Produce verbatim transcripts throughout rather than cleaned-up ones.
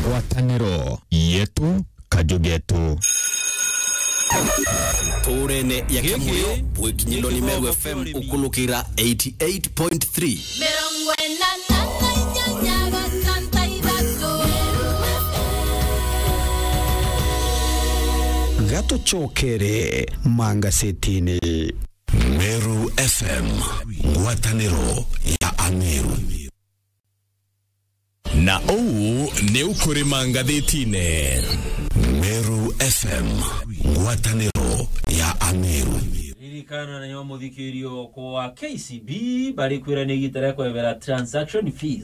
Ngwataniro yetu, kaju getu. Turene ya Giki Kimuyo, bwikinyiro ni Meru F M ukulukira eighty eight point three. Mirongo ina na inyanya gatantu ithatu. Gatucokere mangasetini. Meru F M, ngwataniro ya Ameru. Na uu ni ukurima ngathitine. Meru F M, ngwataniro ya Ameru. Ririkana nayo muthikirio kwa K C B bari kwirania igita ria kwebera transaction fees.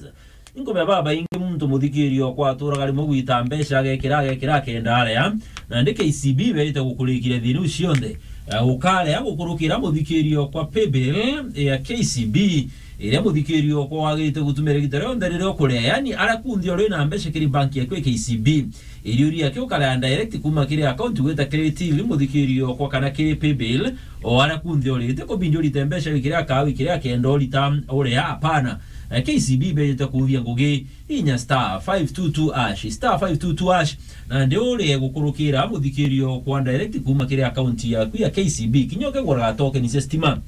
Inkumenya babaingi muntu muthikirio kwa aturaga rimwe gwita mbeca agekira, agekira akenda aria. Nandi K C B berite gukurikira thina iu cionthe. Eh, ukaria gukurukira muthikirio kwa paybill ya K C B, iria muthikirio kwa wagirite gutumira igita rionthe riria ukuria. Yani, aria kunthe uri na mbeca kiri bank yaku ya K C B. Iriuria ki ukaria direct kuma kiri account gwita kiri till muthikirio kwa kana kiri paybill, o aria kunthe urite kubindi urite mbeca wikire akawi kiri akenda urita uria, hapana. Eh, K C B bejete kuuthia ngugi, inya star five two two hash, star five two two hash, na ndi urie gukurukira muthikirio kwa direct kuma kiri account yaku ya K C B. Kinya ukeguraga token cia stima,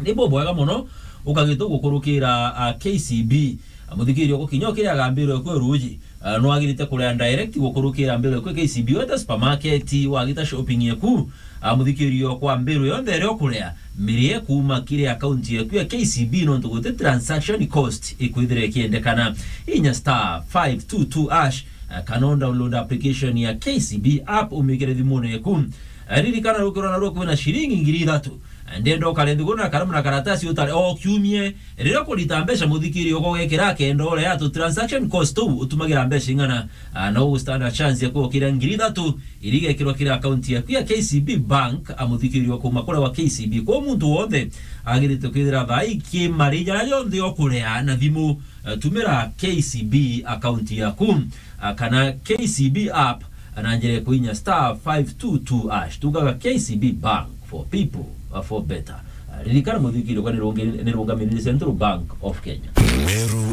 ni bubwega mono ukagita gukurukira, ah, K C B. Ah, muthikirio gukinya ukiria gambiro kwe ruji, ah, nwagirite kuria direct gukurukira mbiro kwe K C B, weta supermarket, wagita shopping yaku, ah, muthikirio kwa mbiro yonthe iria ukuria, mirie kuma kiri account yaku ya K C B nontu guti transaction cost ikwithira ikiendekana. Inya star five two two hash, ah, kana download application ya K C B app umikire thimune yaku. Ah, ririkana rukirwa na rukwi na shilingi ngiri ithatu. Ah, ndenda ukare nthiguru na karamu na karatasi utare o kiumie. Riria ukurita mbeca muthikirio ugekira akenda uria tu transaction cost tu utumagira mbeca ing'ana, ah, no ugu stand a chance ya kwokira ngiri ithatu iria igekirwa kiri account yaku ya K C B Bank, a muthikirio kuma kuria wa K C B. Kwa muntu wonthe agirite kwithira thaa ii kimari jaria jonthe ukuria na thimu, eh, tumira K C B account yaku, ah, kana K C B app, na njira ya kuinya star five two two hash. Tugaga K C B Bank for people, ah, for better. Ah, ririkana muthikirio kwa nirungi-, nirungamirire Central Bank of Kenya. Meru